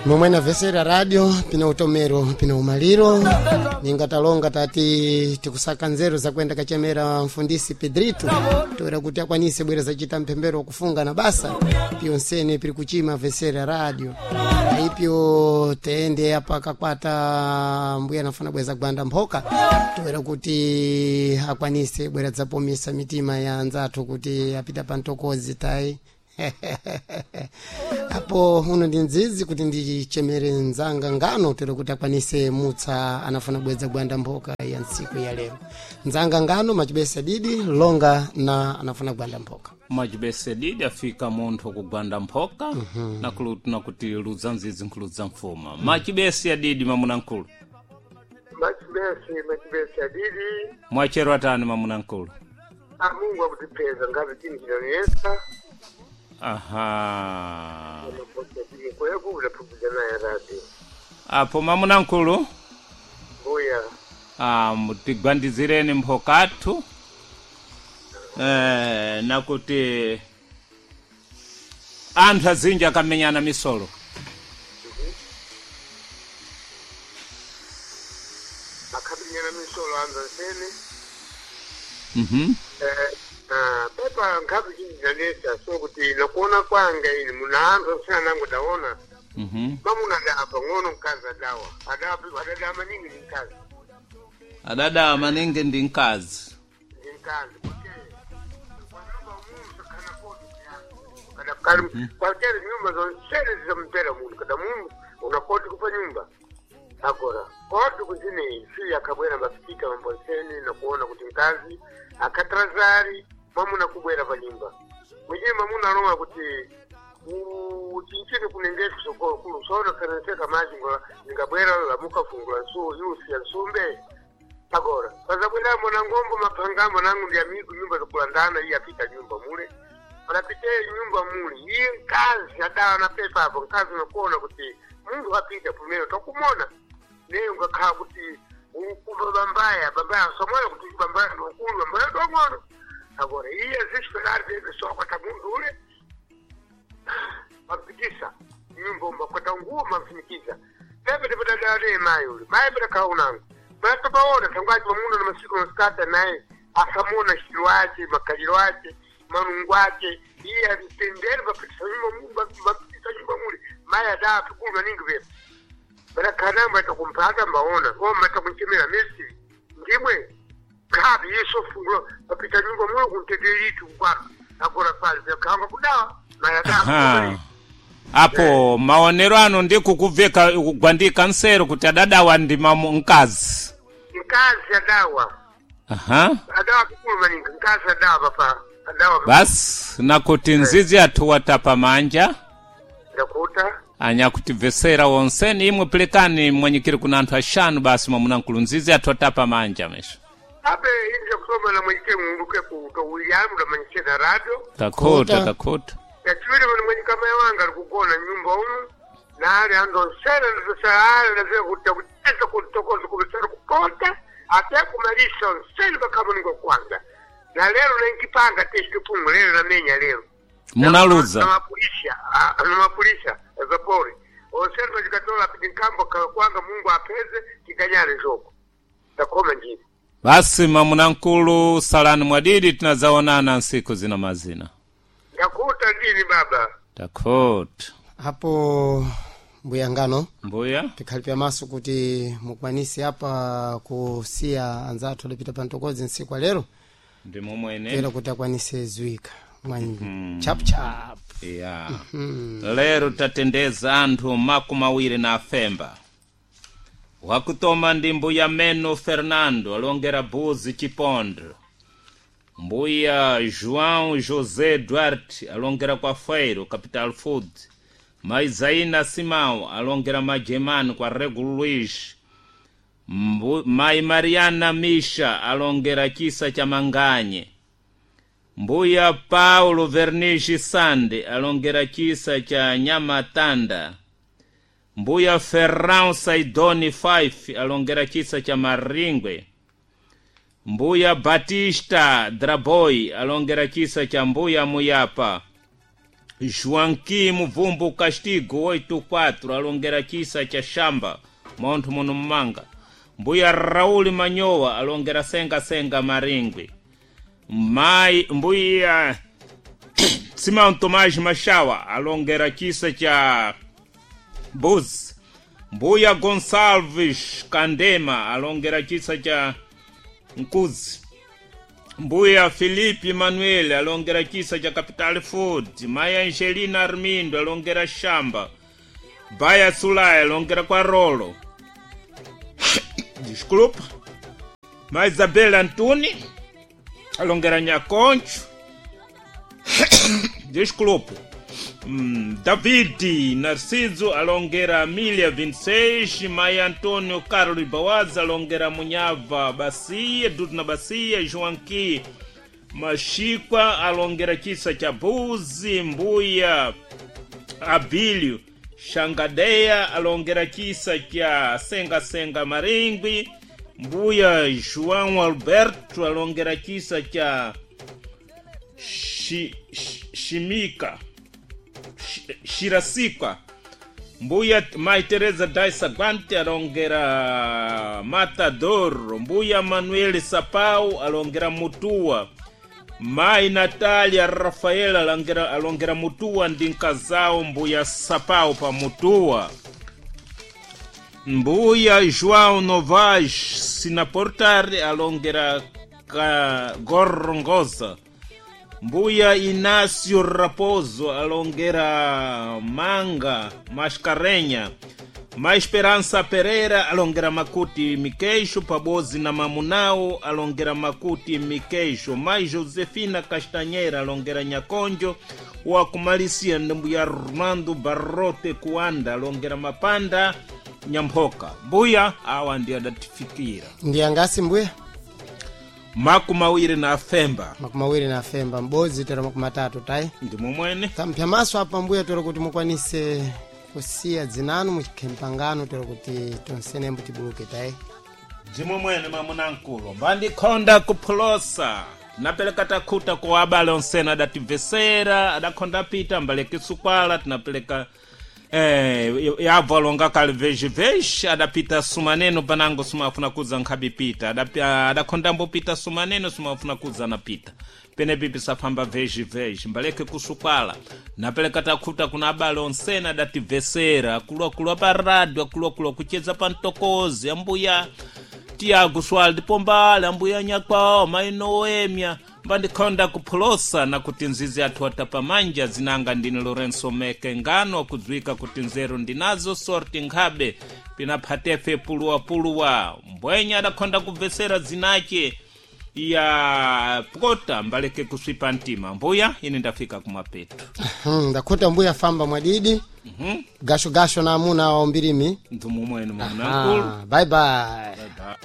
Momwe namvesera radio pina utomero pina umaliro ningatalonga tati tikusaka nzeru zakuenda kachemera mfundisi Pedrito toera kuti akwanise bwera zachita mphembero kufunga na basa piyonsene piri kuchima vesera radio aipyo tende apa kakwata mbuya anafuna bweza gwanda mphoka toera kuti akwanise bwera dzapomesa mitima ya anzathu kuti apita pa mtokozi tayi. Apo uno ndi nzizi kuti ndichemere nzanga ngano tero kuti akwanise mutsa anafuna bweza gwanda mphoka ya ntsiku ya lero. Nzanga ngano machibesa didi longa na anafuna gwanda mphoka. Mwachibese didi afika munthu kugwanda mphoka. Nakuti ludza nzizi nkhuludza mfuma. Machibesi adidi mamuna nkulu. Machibesi, machibesi adidi. Mwachero atani mamuna nkulu? Amungu akutipeza ngazi chini chinaniyesa. Aha. Kweku utaphukuza naye radio. Apo mamuna nkulu? Mbuya. Ah, tigwandizireni mphokathu. Nakuti anthu azinji akamenyana misolo. Akamenyana misolo anza nsene. Pepa nkhazi chini chinaniyesa so kuti nakuona kwanga ini muna anthu asina nangu daona. Mamuna adawa pang'ono mkazi adawa. Adawa adadawa maningi ndi mkazi. Adadawa maningi ndi mkazi. Ndi mkazi. Kwatera nyumba zonsene zizampera munthu kada mundu unakoti kupa nyumba agora koti kuzine si akabwera mafitika mambonsene nakuona kuti mkazi akatrazari mwamuna kubwera pa nyumba mwenyewe mwamuna aloma kuti uchinchini kunengetu sokolo kulu sona kanaseka maji ngola ningabwera lamuka fungula nsu yusi ya nsumbe agora pazabwera mona ngombo mapangamo nangu ndi amigu nyumba zokulandana iye apita nyumba mule panapite nyumba muli iye mkazi adawa na pepa apo mkazi unakuona kuti munthu apita pumene tokumona neyo ngakhala kuti ukumva bambaya bambaya somona kuti bambaya ndokulu bambaya ndong'ono agora iye zisiferari pepe sokwata munthu ule mapitisa nyumba umakwata nguwo mafinikiza pepe tipatadawa naye mayi ule mayi patakhala unango matopaona tangwaci pamuno na masiku masikata naye asamona xilo ace makaliro ace manungu ace iye atendere mapitisa nyumba mapitisa nyumba muli mayi adaa pikulu maningi pepe patakhanamba takumpata mbaona koma takunchemera mesi ndimwe khabi yeso fungulo mapita nyumba muli kuntetelitu kwaka agora pali pekhanga kudawa mayi adaa. Apo maonero ano ndikukubveka kugwandika nsero kuti adadawa ndi mamu mkazi. Mkazi adawa. Aha. Adawa kukulu maningi mkazi adawa papa adawa. Basi nakuti nzizi athu watapa manja. Ndakuta. Anyakutibvesera wonseni imwe pelekani mwanyikiri kuna anthu axanu basi mwamuna nkulu nzizi athu atapa manja mesho. Ape inja kusoma na mwenyike muuluke ku William na mwenyike na radio. Takhuta takhuta. Yachiwiri mwana mwenye kama yawanga alikugona nyumba umu na ali ando nsera ndosala ndavye kuti kutesa kutokoza kubisera kupota ate kumalisa nsera bakama ningo kwanga na lero nenkipanga teshitupungu lero namenya lero munaluza na mapulisha na mapulisha zapori onsera bachikatola piti nkambo kwanga Mungu apeze kikanyane njoko takoma njini. Basi mwamuna nkulu salani mwadidi tinazaonana nsiku zina mazina. Ndakuta ndini baba. Takhuta. Apo mbuya ngano mbuya tikhalipya maso kuti mukwanise apa kusiya anzathu adapita pa mtokozi ntsiku ya lero ndi momwene tera kuti akwanise zwika mwa chapuchapu. Ya. Lero tatendeza anthu makumi awiri na afemba. Wakutoma ndi mbuya Meno Fernando alongera Buzi Chipondo. Mbuya João José Duarte alongera kwa Feiro Capital Food. Maizaina Simão alongera Majemani kwa Regulo Luiz. Mai Mariana Misha alongera Chisa cha Manganye. Mbuya Paulo Vernishi Sande alongera Chisa cha Nyamatanda. Mbuya Ferrão Saidoni 5 alongera Chisa cha Maringwe. Mbuya Batista Draboy alongera Chisa cha Mbuya Muyapa. Joaquim Muvumbu Castigo 84 alongera chisa cha shamba monthu muno mmanga. Mbuya Rauli Manyowa alongera senga senga Maringwi. Mai mbuya Simão Tomás Machawa alongera chisa cha Buzi. Mbuya Gonçalves Kandema alongera chisa cha Nkuzi. Mbuya Felipe Manuel alongera chisa cha Capital Food. Maya Angelina Armindo alongera shamba. Baya Sulai alongera kwa Rolo. Desculpa. Ma Isabela Antoni alongera Nhaconcho. Desculpa. David Narciso alongera Milha 26, Maia Antônio Carlos Bawaza alongera Munhava Bacia, Dudu na Bacia, Joaquim Machikwa alongera Chisa cha Buzi, Mbuya Abílio Xangadeia alongera Chisa cha Senga Senga Maringui, Mbuya João Alberto alongera Chisa cha Shimika Shirasikwa. Mbuya Mai Teresa Daisa Guante alongera Matador. Mbuya Manuel Sapau alongera Mutua. Mai Natalia Rafaela alongera Mutua ndi nkazao Mbuya Sapau pa Mutua. Mbuya João Novas Sinaportar alongera Gorongosa. Mbuya Inácio Raposo alongera Manga Mascarenha. Ma Esperança Pereira alongera Makuti Miqueixo. Pabozi na Mamunau alongera Makuti Miqueixo. Ma Josefina Castanheira alongera Nhaconjo. Wakumalisia ndi Mbuya Armando Barrote Kuanda alongera Mapanda Nyamphoka. Mbuya awa ndi adatifikira Ndi angasi mbuya? 25. 25 m'bodzi tero 30 tayi. Ndi momwene. Tampya maso apa mbuya tero kuti mukwanise kusiya dzinanu muchikhempangano tero kuti tonsenembo tibuluke tayi. Ndimomwene mamunamkulu mbandikhonda kuphulosa tinapeleka takhuta ku abale onsene adatibvesera adakhonda pita mbaleke sukwala tinapeleka yabvo alonga kale veji adapita sumaneno panango sumafuna kudza nkhabi pita adakhonda mbopita sumaneno sumafuna kudza na pita penepi pisafamba veji mbaleke kusukwala napeleka takhuta kuna abale onsene adatibvesera akuluakulu apa radio akuluakulu akucheza pa mtokozi ambuya Tiago Swaldi Pombala ambuya Nyakwawa mai Noemia mbandikhonda kuphulosa na kuti nzizi athu atapamanja zinanga ndine Lourenço Meke ngano akudziwika kuti nzeru ndinazo sorti nkhabe pinaphatefe puluwapuluwa mbwenya adakhonda kubvesera zinache ya pkota mbaleke kuswipa mtima. Mbuya ine ndafika kumapeto. Ndakhuta mbuya famba mwadidi. Gasho gasho na amuna wa umbirimi. Ndimomwene mwanamkulu. Bye bye. Bye bye.